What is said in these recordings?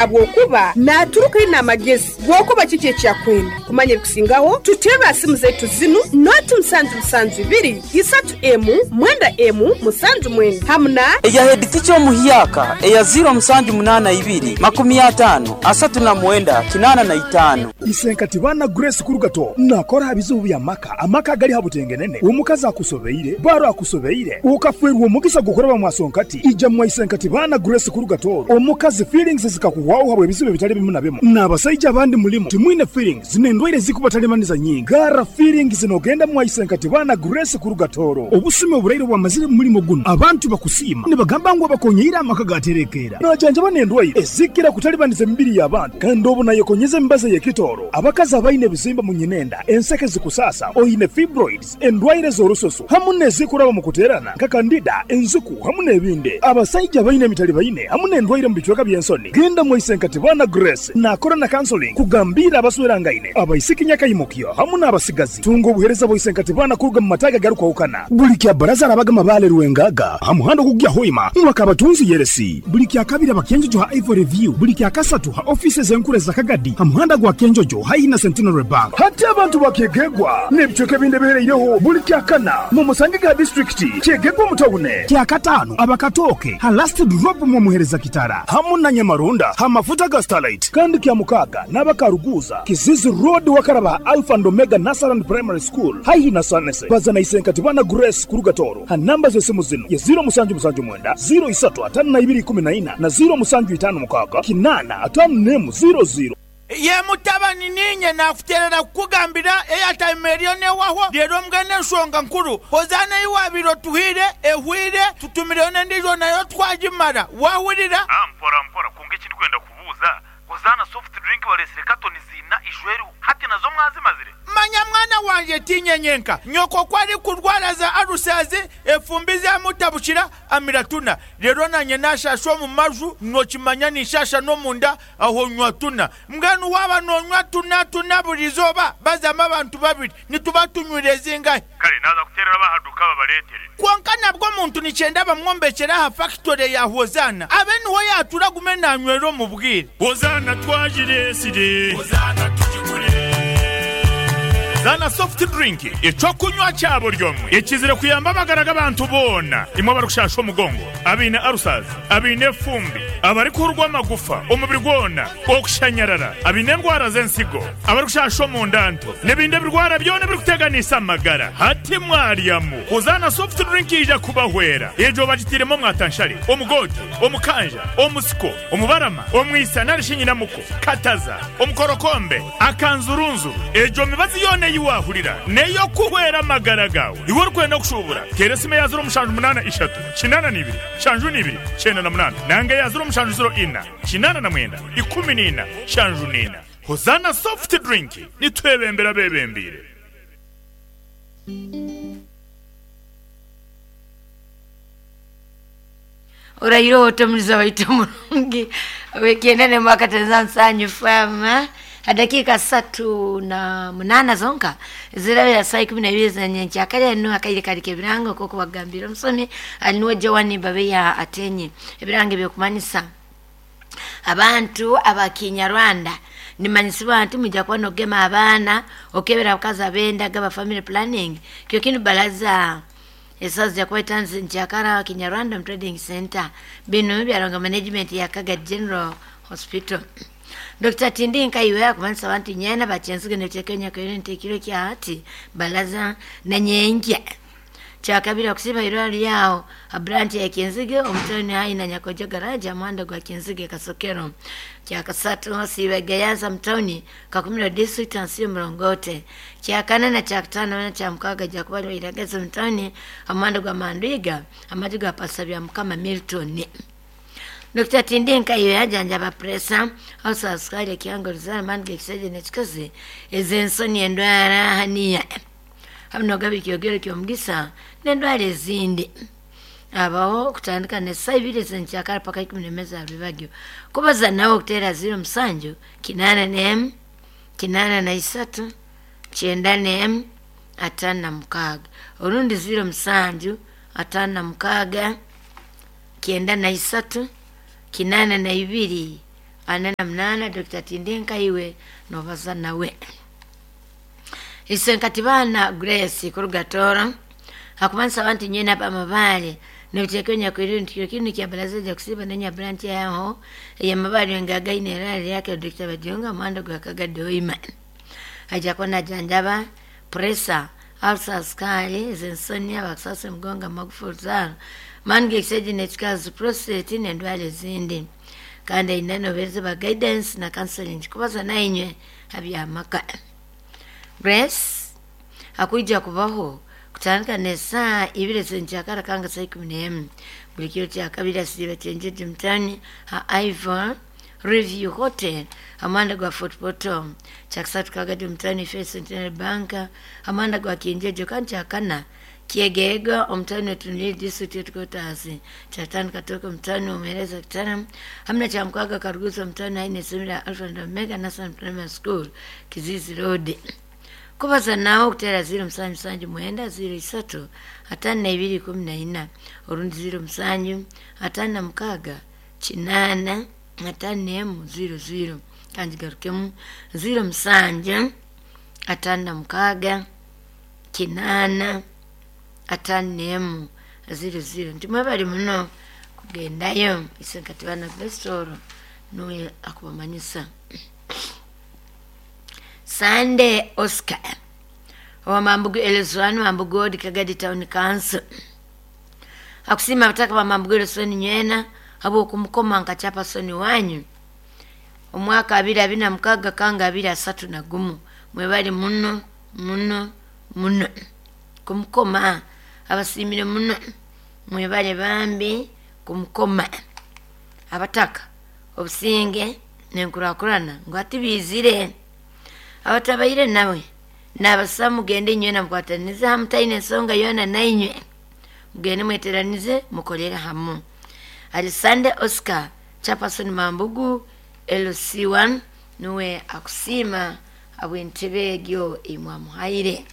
Habwokuba naaturuka aine amagezi g'okuba kiki eki akwenda. Kumanya ebikusingaho, tuteerre ha simu zaitu zinu, noti musanju musanju ibiri, isatu emu, mwenda emu, musanju mwenda hamu na. Eya heditica omuhyaka eya ziiro musanju munaana ibiri, makumi ataano, asatu na mwenda, kinaana na itaano. Isenkati baana Grace Kurugato nakora aha bizibu by'amaka, amaka agali ha butengenene, omukazi akusobeire, baro akusobeire, okafeerwa omugisa gw'okuraba mwasonkati, ija mwa Isenkati baana Grace Kurugato, omukazi feelings zikakuhwaho habw'ebizibu ebitali bimu na bimu. N'abasaija abandi mulimu timwine feelings n'endwaire ezikubatalibaniza nyingi. Garra feelings n'ogenda mwa Isenkati baana Grace Kurugatoro. Obusumi oburaire obwamazire mu mulimo gunu, abantu bakusiima nibagamba ngu abakonyeire amaka gaterekeera. Najanjaba n'endwaire ezikira kutalibaniza emibiri y'abantu kandi obu nayekonyeza emibazi ey'ekitooro. Abakazi abaine ebizimba mu nyinenda, enseke zikusaasa, oine fibroids, endwaire z'orususu hamu n'ezikuraba mu kuteerana nka kandida, enziku hamu n'ebindi. Abasaija abaine emitalibaine hamu n'endwaire mu bicweka by'ensoni, genda mwa Isenkatibana Grace naakora na counseling kugambiira abaswerangaine, abaisiki nyakaimukyo hamu n'abasigazi. Tunga obuheereza bwa Isenkatibana kuruga mu mataagi agarukwahukana. Buli kya Baraza arabaga Mabaale Rwengaga ha muhanda ogukugya Hoima Mwakabatunzi Yeresi. Buli Kyakabiri aba Kyenjojo ha Ivory View. Buli Kyakasatu ha ofiisi ez'enkuru eza Kagadi ha muhanda gwa Kyenjojo haihi na Centenary Bank. Hati abantu ba Kyegegwa n'ebicweka ebindi ebihereireho buli Kyakana mumusangege ha disiturikiti Kyegegwa omu tawune. Kyakataano aba Katooke ha Last Drop mwomuhereza Kitara hamu na Nyamarunda ha mafuta ga Starlight. Kandi Kyamukaaga n'aba Karuguuza, Kizizi Road wakaraba ha Alpha and Omega Nursery and Primary School haihi na Sanese. Baza na Isenkatibana Grace kuruga Tooro ha namba z'esimu zinu ye ziiro musanju musanju mwenda, ziiro isatu ataano na ibiri ikumi na ina na ziiro musanju itaano mukaaga kinaana ataano n'emu ziiro ziiro. Ye mutabani, niinye naakuteerera kukugambira eyataima eriyo n'ehwaho. Reero mbwenu enshonga nkuru, Hozaana ei waabaire otuhaire ehwaire, tutumireyo n'endiijo nayo twagimara. Waahurira? Mpora mpora, kwonka eki ndikwenda kubuuza, Hozaana soft drink bareetsire katoni ziina ijweriho, hati nazo mwazimazire? Manya mwana wangye, tiinye nyenka. Nyoko ku arikurwara za alusazi, efumbi zaamutabukira, amira tuna. Reero naanye naashaasha omu maju, nookimanya ninshaasha n'omunda, aho nywa tuna. Mbwenu waaba noonywa tuna tuna buri izooba, bazamu abantu babiri, nituba tunywire zingahi? Kare naaza kuteerera ab'aha duuka babareetere. Kwonka nabwo omuntu nikyenda bamwombekyere aha fakitore ya Hozaana, abe niho yaatura agume naanywera omu bwire. Hozaana twagireetsire. Hozaana tugigure. Zaana Soft Drink, eky'okunywa kya buri omwe ekizire kuyamba amagara g'abantu boona, imwe abarikushasha omugongo, abaine ulcers, abaine efumbi, abarikuhurwa amagufa omubiri gwona, okushanyarara, abaine endwara z'ensigo, abarikushasha omunda nto, n'ebindi ebirwara byona ebirikuteganisa amagara. Hati mwaryamu. Hozaana Soft Drink yaija kubahwera. Egyo bagitairemu omwatanshare, omugoote, omukanja, omusiko, omubarama, omwisa nari shi nyinamuko, kataza, omukorokombe, akanzurunzuru. Egyo mibazi yoona ei waahurira n'ey'okuhwera amagara gaawe. Iwe orikwenda kushuubura, teera esimu eya ziro mushanju munaana ishatu, kinaana na ibiri, nshanju na ibiri, kyenda na munaana nanga eya ziro mushanju ziro ina, kinaana na mwenda, ikumi na ina, nshanju na ina. Hozaana Soft Drink, nitwebembera abeebembeire. Orahire ota omuliza waitu omurungi wekyenda nemu akatenza nsanyu fm ha dakika 38 zonka zirabira saa 12 zenyenkyakare enu akaire kali kebirango nk'oku bagambire omusomi ali niwe Joan Babeya Atenye. Ebirango ebyokumanyisa abantu abakinyarwanda nimanyisibwa nti mujja kuba nogema abaana okebera abakazi abenda gaba family planning kyo kinu balaza esazi jakuba itanzi nkyakara Kinyarwanda mu trading center. Bino byaronga management ya Kaga General Hospital. Dr. Tindi Nkaiwe akumanyisa abantu nyena bachenziga nekyekenya kwenye ekiro kya hati balaza na nyenje kyakabiri okusiba irwaro lyao a branch ya Kinzige omutoni hai na Nyakojo garage amanda gwa Kinzige Kasokero. Kyakasatu siba Gayanza mtoni Kakumiro district ansiyo Mrongote. Kyakana na kyakatano na kyamukaga jakuba iragaza mtoni amanda gwa Mandwiga amaju gwa Pasabya Mukama Milton. Dr. Tindi Nkaiwe yajanjaba presa hausa sukari kiwango ruzara mandi gekisajja nekikazi ez'ensoni endwara haniya hamwe nogaba ekyogero ky'omugisa n'endwara ezindi. Abaho okutandika n'essaaha ibiri ez'enkyakara paka ikumi n'emwe za rwebagyo. Kubaza nawe okuteera ziro musanju kinaana n'emu kinaana na isatu kyenda n'emu ataano na mukaaga orundi ziro musanju ataano na mukaaga kyenda na isatu kinaana na ibiri 48. Dr. Tindenka iwe nobaza nawe. Isenkatibana Grace kurugatora hakumanisa abantu nyena abamabale nibitekonya kwirinda kiro kinu kya baraza ja kusiba nenya branch yaho ya mabale ngagaine rali yake Dr. Badionga mwanda gwa Kagadi Hoima aja kona janjaba pressure ulcer skali zensonia bakusasa mgonga magufuli zaro mange kiseji nechikazi prostate nendwale zindi kandi inano bereze ba guidance na counseling kubaza nainywe abyamaka. Grace akuija kubaho kutandika nesaa ibiri zenjakara kanga saa 11 buli kiro kya kabiri asiba kyenjeje mutani ha Ivor Review Hotel amanda gwa Fort Portal kyakusatu Kagadi mutani First Centenary Bank amanda gwa Kienjeje kandi kyakana Kiegega omutani wetunuli district headquarters kyatano Katoka mutani omuhereza kitana hamna kya mukaga Karuguza mutani aine semira Alpha and Omega National Primary School Kizizi Road. Kubaza nawo kutera 0 7 7 9 0 3 52 14 orundi 0 7 5 6 8 5 0 0 kandi garukemu 0 7 5 6 8 5 0 0. Ntimwe bali muno kugendayo isenkatibana Grace nuwe akubamanyisa. Sunday Oscar wa Mambugu Elezwani Mambugu Ward Kagadi Town Council akusima bataka ba Mambugu Elezwani nywena abo kumukoma nkachapa soni wanyu omwaka 2026 kanga 2031 mwebali muno muno muno kumukoma abasimire muno mwebale bambi kumukoma abataka obusinge nenkurakurana ngo atibizire abatabaire nawe nabasa mugende nywena mukwatanize hamutaine ensonga yona nainywe mugende mweteranize mukolere hamu. Alisande Oscar Chapason Mambugu LC1 nuwe akusima abwentebe egyo imwamuhaire.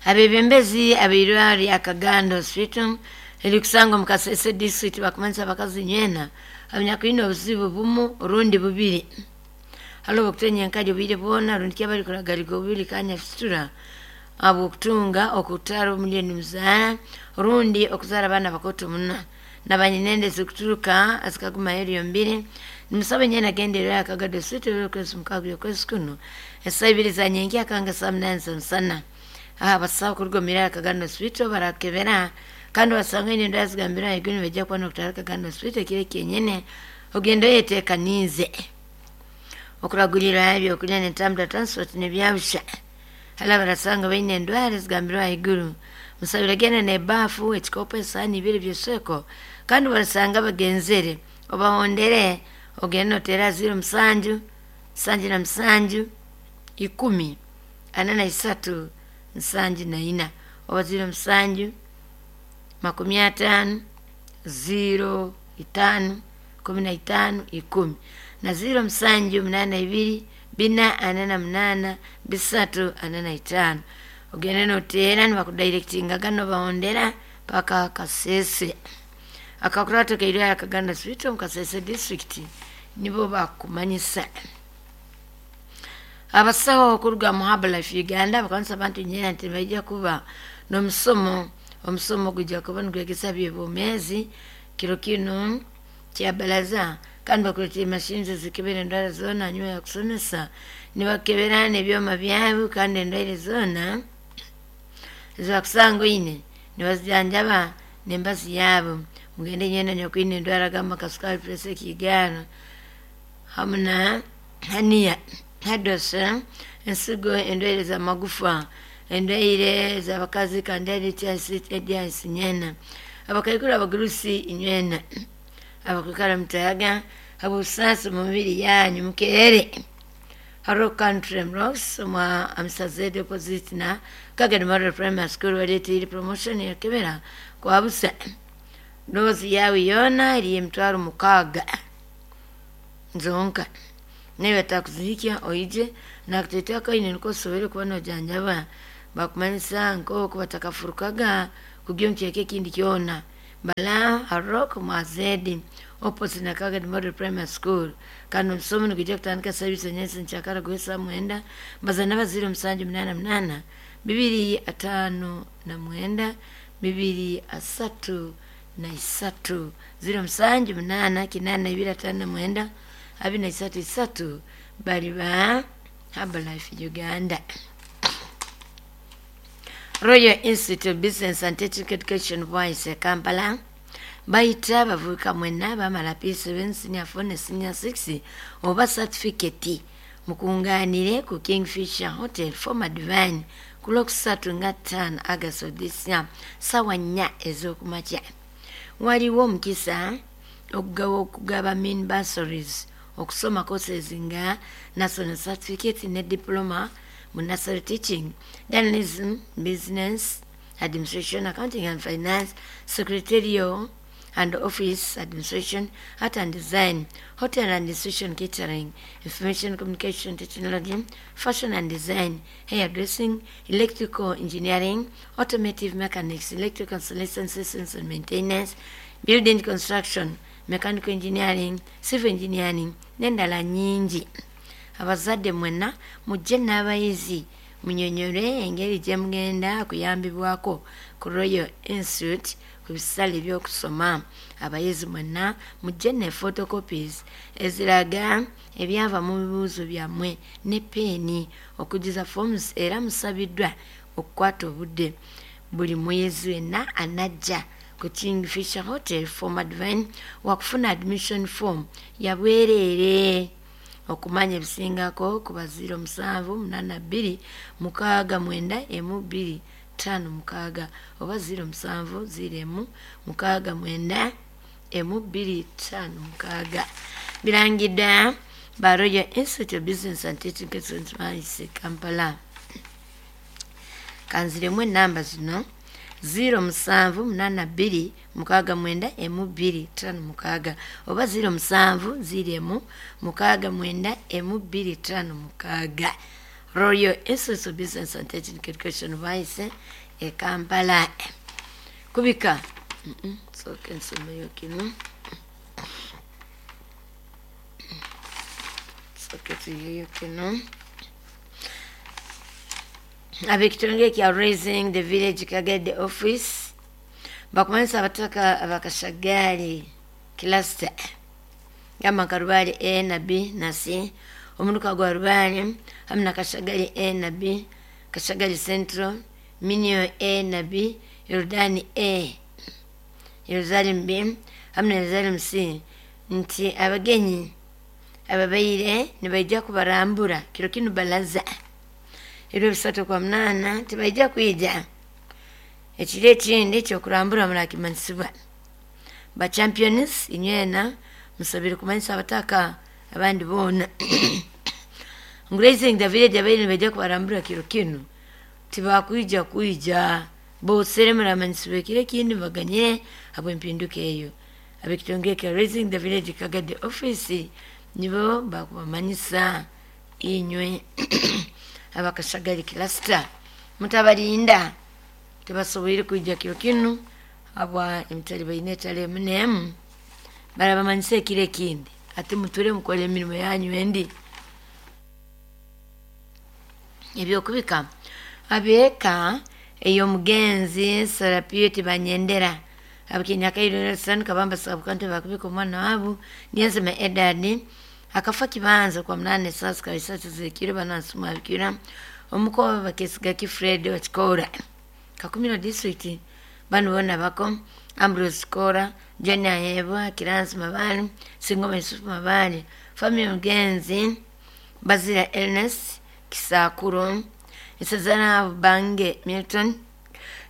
Abebembezi abeirwari akagando hospital elikusanga mukasese district bakumanisa bakazi nywena abanyakwine obuzibu bumu rundi bubiri halo bakutenya nkaje bubiri bona rundi kyabali kuragaliga bubiri kanya fitura abo kutunga okutaro milioni mzara rundi okuzara bana bakoto muna nabanyinende zikuturuka azikaguma heriyo mbiri nimusabe nyena gendera akagado hospital kwezi mukagyo kwezi kuno esabiri za nyengi akanga saa 8 sana aha basaba kurugomera akagando hospital barakebera kandi wasanga ine ndazigambira iguni bajya kwa nokutara kagando hospital kire kenyene ogendo yetekanize okuragulira ebyo kulya netambula transport nebyabusha hala barasanga baine ndwara zigambirwa iguru musabira genda ne bafu ekikopo esani ibiri byeseko kandi barasanga bagenzere obahondere ogenda otera 0 7 7 7 10 43 74 oba 0 7 50 0 5 15 10 na 0 7 8 2 4 8 3 45 ogende notera nibakudirectinga gano bahondera paka Kasese akakurato kairwa akaganda hospital mukasese district nibo bakumanyisa. Abasawo okuruga mu Herbalife Uganda bakanisa abantu nyena nti bajja kuba n'omusomo omusomo gujja kuba nigwegesa byebomezi kiro kino kya balaza kandi bakuleetera emashini zikebera endwara zoona hanyuma ya kusomesa nibakebera n'ebyoma byabo kandi endwaire zoona ezibakusanga oine nibazijanjaba n'embazi yaabo mugende nyena nyokwine endwara gamba kasukari presa ekigaano hamu na haniya hadosa ensigo endwaire z'amagufa endwaire z'abakazi kandi ediasi nyena abakaikuru abagurusi inywena abakwikara mutayaga abusasi mu mibiri yanyu mukere haro country rocks mwa amsaze deposit na Kagadi Model Primary School waleteire promotion yakebera kwa busa dozi yawe yona eri emitwaro 6 nzonka niwe takuzikia oije nakutetea kaine nikosobere kuba nojanjaba bakumanyisa nk'oku batakafurukaga kugyo nkyeke ekindi kyona Bala Arok Mwazedi opposite na Kagadi Model Primary School. Kandi omusomo nigujja kutandika service enyensi nkyakara gwesa mwenda bazana baziro 788 259 233 078 825 23 bali ba Herbalife Uganda. Royal Institute of Business and Technical Education Voice Kampala bayita abavubuka mwenna bamala P7 senior 4 ne senior 6 oba certificate mukunganire ku Kingfisher Hotel former Divine ku Lwokusatu nga 5 August of this year sawa 4 ez'okumakya. Waliwo omukisa okugaba mini bursaries okusoma courses nga national certificate ne diploma mu nursery teaching, journalism, business administration, accounting and finance, secretarial and office administration, art and design, hotel and institution catering, information communication technology, fashion and design, hairdressing, electrical engineering, automotive mechanics, electrical installation systems and maintenance, building construction, mechanical engineering, civil engineering, n'endala nnyingi. Abazadde mwenna mujje n'abayizi munyonyole engeri gye mugenda kuyambibwako ku Royal Institute ku bisale by'okusoma. Abayizi mwenna mujje ne photocopies eziraga ebyava mu bibuuzo byammwe ne peeni okujjuza forms, era musabiddwa okukwata obudde. Buli muyizi wenna anajja ku Kingfisher Hotel former Divine wakufuna admission form yabwereere. Okumanya ebisingako ku ba 0782 69 1256 oba 07 01 69 1256. Birangiddwa ba Royal Institute of Business and Technical Education Kampala. Kanziremu enamba zino 0782 69 1256 oba 07 01 69 1256. Royal Institute of Business and Technical Education Vice e Kampala. Kubika soke nsomeyo kino, soke tuyeyo kino. Ab'ekitongole kya Raising the Village Kagadi Office bakumanyisa abataka abakashagali cluster gamba nka Rubale A na B na C, omunuka gwa Rubale hamwe na Kashagali A na B, Kashagali Central, Minio A na B, Yordani A, Yerusalem B hamwe na Yerusalem C, nti abagenyi ababaire nibaija kubarambura kiro kinu balaza ebiro 3/8 tibaija kwija. Ekiro ekindi ekyokurambura murakimanyisibwa. Ba champions inywena musabire kumanyisa abataka abandi boona. Raising the Village abaire nibaija kubarambura kiro kinu tibakwija kwija bosere muramanyisibwa ekiro ekindi baganyire habw'empinduka eyo. Ab'ekitongole kya Raising the Village Kagadi Office nibo bakubamanyisa inywe abakashagali cluster mutabalinda tebasoboire kwijja kiro kinu habwa emitali baine etali emu n'emu barabamanyisa ekiro ekindi ate muture mukore emirimo yanyu endi. Ebyokubika abeeka ey'omugenzi Sarapio Tibanyendera abakinyakairo kabamba sabukantu bakubika omwana wabu Nyenzema Edadi akafa kibanza kwa 8 sasa isatu zikiro banansuma abikira omukoba bakesiga ki Fred wa Kikora Kakumiro district bano bona bako Ambrose Kora, John Ahebwa, Kiransi Mabali, Singoma Yusufu Mabali, family mugenzi Bazira Ernest Kisakuro, Isazana Bange Milton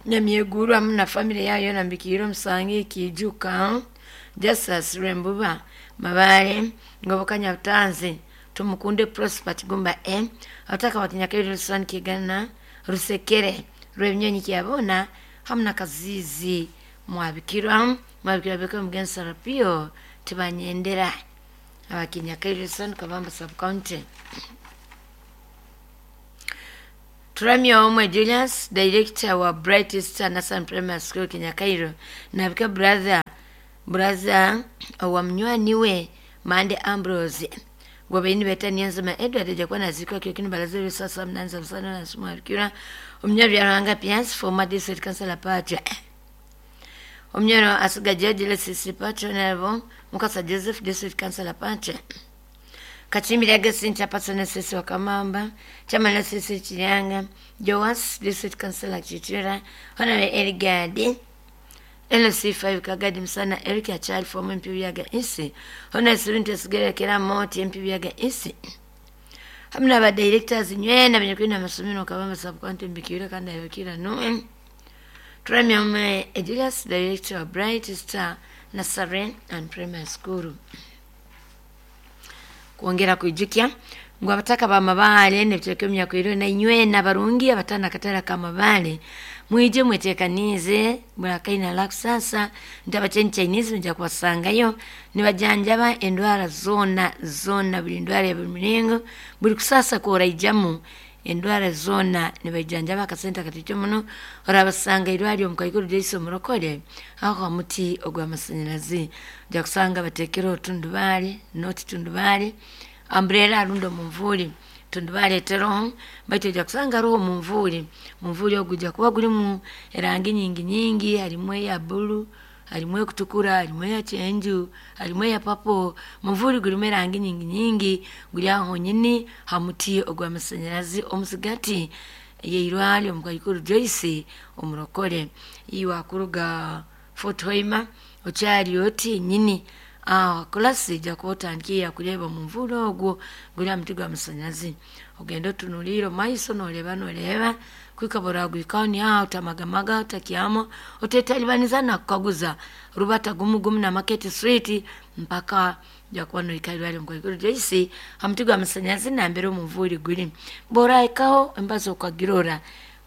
Nyamyeguru hamwe na family yayo nambikiro Musangi Kijuka, Justus Rembuba Mabale, Ngoboka Nyabutanzi, Tumukunde Prosper Kigumba M, abataka bakinyakairo San Kigana, Rusekere, Rwebnyonyi Kyabona hamwe na Kazizi mwabikirwa beko mugenzi Sarapio Tibanyendera abakinyakairo San Kabamba sub county. Turamya omwe Julius, director wa Bright Star Nursery Primary School Kinyakairo, nabika brother brother wa munywani we Mande Ambrose gwabaini beta Niyonzima Edward ajakuwa nazikwa kyokini balaza sasa mnanza msana na sumu arikira omunyoro Ruhanga Pians, former district councilor Patria, omunyoro Asiga George Lesisi Patria, Honorable Mukasa Joseph, district councilor Patria, Kachimbira Augustine Chapatsona Sisi Wakamamba, Chairman Sisi Chiryanga, Joas, District Councillor Chichira, Honorable Erigadi, LC5 Kagadi Msana, Eric Achali, former MP Byaga Isi, Honorable Sirunte Sigera Kera Moti, MP Byaga Isi. Hamna ba directors nywena benye masomero kabamba sub-county Mbikira kandi ayokira nuwe. Turamya ume Julius, director of Bright Star Nursery and Primary School. Kuongera kuijukya ngu abataka ba mabale nebitereka emyakwiro na inywena barungi abatana katara ka mabale mwije mwetekanize murakaina la kusasa nti Chinese nja kubasangayo nibajanjaba endwara zona zona, buli ndwara ya buli muringo, buli kusasa koraijamu endwara zona nibajanjaba akasente katito muno. Orabasanga irwari omukaikuru Jason Murokore aho muti ogw'amasanyalazi, ojja kusanga batekere otundubale noti tundubale umbrella arundo munvuli tundubale eteroho, baitu ojja kusanga roho munvuli munvuli ogujja kuba gulimu erangi nyingi nyingi, harimu eya bulu, harimu ekutukura, harimu eya kyenju, harimu eya papo. Munvuli gulimu erangi nyingi nyingi, guri aho honyini ha muti ogw'amasanyalazi omusigati yeirwari omukaikuru Joyce Omurokore. Iwe akuruga Fort Hoima okyari oti nyini kulasi ojja kuba otandikiire kureba omunvuli ogwo guri aha muti gw'amasanyalazi, ogenda otunuliire omu maiso noreeba noreeba kwika boragwikaho niaho otamagamaga otakyama otetalibaniza nakukaguza rubata gumu gumu na Market Street mpaka ojja kuba nohika irwari omukaikuru Joyce ha muti gw'amasanyalazi nambere omunvuli guri. Borahikaho embazo okagirora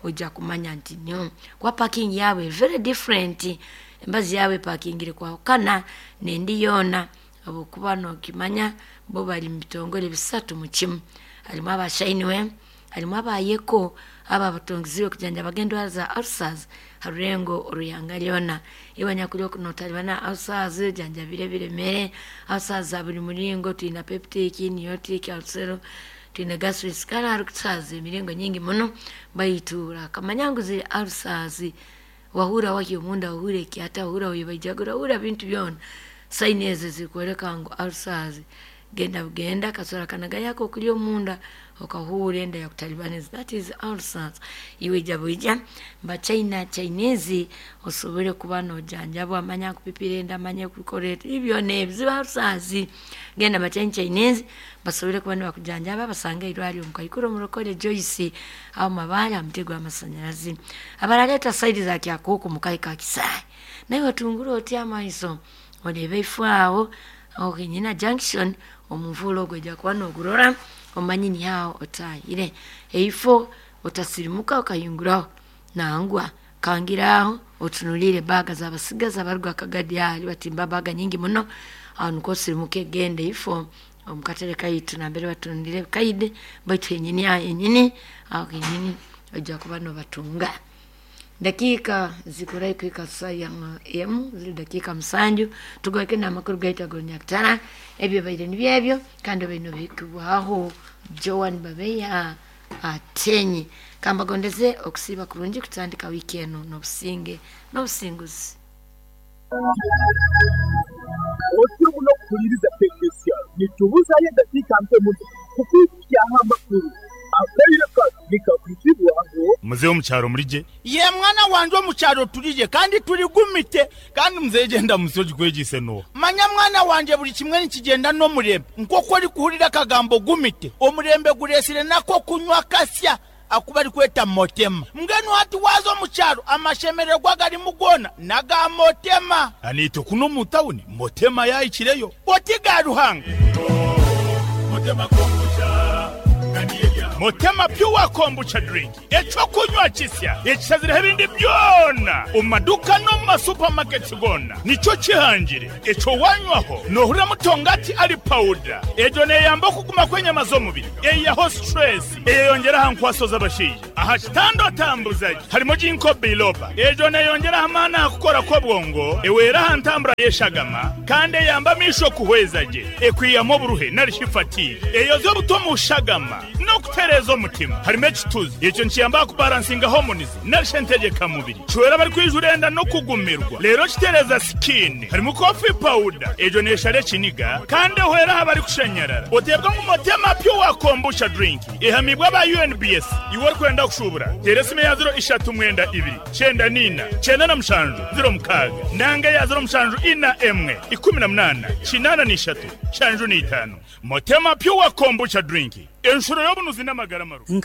ojja kumanya nti nyo kuba parking yaabwe very different, embazi yaabwe epakingire kwahukana nendi yoona, habwokuba nokimanya bo bari mu bitongore bisatu mu kimu, harimu aba Shineway, harimu aba Yeko aba abatongiziwe kujanjabaga endwara za ulcers harurengo oruyanga ryona. Iwe nyakuri okunotalibana ulcers janjabire ebiremere ulcers za buli muringo, twina peptic, niotic ulcer, twine gastric, kale hariho ulcers emiringo nyingi muno, baitu orakamanya ngu ziri ulcers wahura waki omunda, wahura ekyata, wahura webaijagura, wahura bintu byona, saini ezo zikworeka ngu ulcers. Genda bugenda kasora kanaga yako okuri omunda okahura enda yakutalibaniza, that is ulcers. Iwe ija bwija mba China Chinese osobole kuba nojanjabwa, amanya kupipira enda, amanya kukora ebyona ebizibu ulcers. Genda mba China Chinese basobole kuba nibakujanjaba, basanga irwari omukaikuru Omurokore Joyce aho mabale aha muti gw'amasanyalazi. Abaraleeta saidi za Kyakuku mukayi ka Kisaayi, naye otungura oti amaiso oreebe ifo aho ohinyina junction omunvuli ogwo ojja kuba nogurora omanye ni aho otahire eifo, otasirimuka okahinguraho nangwa kangira aho otunuliire baga z'abasigazi abaruga Kagadi ahari batimba baga nyingi muno, aho nikwo osirimuke genda ifo omukatare kaitu nambere batundire kaide, baitu henyini aho henyini aho henyini ojja kuba nobatunga. Dakika zikurai kuika saa ya emu ziri dakika 7 tugoke n'amakuru gaitu ag'orunyakitara ebyo baire nibyebyo kandi baine bihikibwaho Joan Babeya Atenyi. Kambagondeze okusiiba kurungi kutandika wiiki enu n'obusinge n'obusinguzi. Otyo muno kuhuliriza Tekinisiya. Nitubuzayo edakiika nke muno kukwikukyaho amakuru. Akaire kanu nikakwizibwaho. Muzehe omu kyaro muri gye? Ye mwana wangye, omu kyaro turi gye kandi turigumite. Kandi muzehe gyenda musi ogikwegyise n'oha? Manya mwana wangye, buri kimwe nikigyenda n'omurembe. Nk'oku orikuhurira akagambo gumite, omurembe gureetsire n'ak'okunywa kasya aku barikweta Motema. Mbwenu hati waaza omu kyaro amashemererwa agarimu goona n'aga Motema. Naitwe kunu omu tawuni Motema yaahikireyo. Oti ga Ruhanga! Motema k'omu kyaro. Motema Pure Kombucha Drink, ekyokunywa kisya ekishazireho ebindi byona omu maduka n'omu masupamaketi goona. Nikyo kihangire ekyo wanywaho noohurira mutongati ari pawuda. Egyo neeyamba okuguma kw'enyama z'omubiri, eihaho situresi, eyeyongyera aha nkwaso z'abashaija. Aha kitanda otambuza gye harimu Ginkgo biloba. Egyo neeyongyera aha maani aha kukora kw'obwongo, ehwera aha ntambura y'eshagama kandi eyamba amaisho kuhweza gye, ekwihamu oburuhe nari shi fatigue, eyoza obuta omu shagama n'okutereeza omutima. Harimu ekituzi, ekyo nikiyamba aha kubaransinga hormones nari shi entegyekamubiri. Kihwera abarikwijura enda n'okugumirwa reero kitereeza sikiini. Harimu coffee powder, egyo neeshara ekiniga kandi ehwera aha barikushanyarara. Oteebwa ngu Motema Pure Kombucha Drink ehamiibwe aba UNBS. Iwe orikwenda kushuubura, teera esimu eya ziro ishatu mwenda ibiri, kyenda n'ina, kyenda na mushanju, ziro mukaaga nanga eya ziro mushanju ina emwe, ikumi na munaana, kinaana n'ishatu, nshanju n'itaano. Motema Pure Kombucha Drink, enshuro y'obunuzi n'amagara marungi.